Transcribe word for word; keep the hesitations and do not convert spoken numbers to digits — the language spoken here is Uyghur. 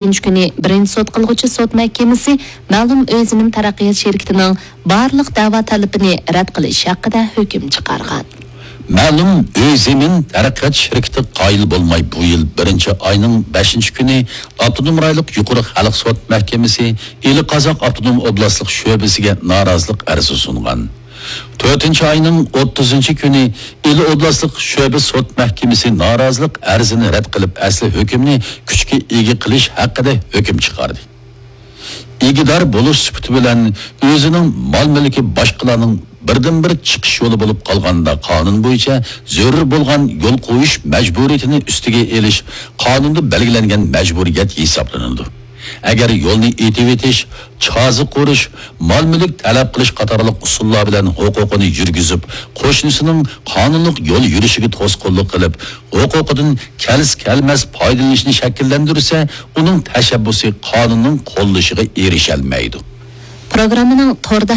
ئىككىنچى كۈنى بىرىنچى سوت قىلغۇچى سوت مەھكىمىسى مەلۇم ئۆي زېمىن تەرەققىيات شىركىتىنىڭ بارلىق دەۋا تەلىپىنى رەت قىلىش ھەققىدە ھۆكۈم چىقارغان. مەلۇم ئۆي زېمىن تەرەققىيات شىركىتى قايىل بولماي، بۇ يىل بىرىنچى ئاينىڭ بەشىنچى كۈنى ئاپتونوم رايونلۇق يۇقىرى خەلق سوت مەھكىمىسى ئىلى قازاق ئاپتونوم ئوبلاستلىق شۆبىسىگە نارازىلىق ئەرزى سۇنغان. تۆتىنچى ئاينىڭ ئوتتۇزىنچى كۈنى ئىلى ئوبلاستلىق شۆبە سوت مەھكىمىسى نارازىلىق ئەرزىنى رەت قىلىپ، ئەسلى ھۆكۈمنى كۈچكە ئىگە قىلىش ھەققىدە ھۆكۈم چىقاردى. ئىگىدار بولۇش سۈپىتى بىلەن ئۆزىنىڭ مال-مۈلكى باشقىلارنىڭ بىردىنبىر چىقىش يولى بولۇپ قالغاندا، قانۇن بويىچە زۆرۈر بولغان يول قويۇش مەجبۇرىيىتىنى ئۈستىگە ئېلىش قانۇندا بەلگىلەنگەن مەجبۇرىيەت ھېسابلىنىدۇ. ئەگەر يولنى ئېتىۋېتىش، چازا قۇرۇش، مال-مۈلۈك تەلەپ قىلىش قاتارلىق ئۇسۇللار بىلەن ھوقۇقىنى يۈرگۈزۈپ، قوشنىسىنىڭ قانۇنلۇق يول يۈرۈشىگە توسقۇنلۇق قىلىپ، ھوقۇقىدىن كەلسە-كەلمەس پايدىلىنىشنى شەكىللەندۈرسە، ئۇنىڭ تەشەببۇسى قانۇننىڭ قوللىشىغا ئېرىشەلمەيدۇ. پروگراممىنىڭ توردا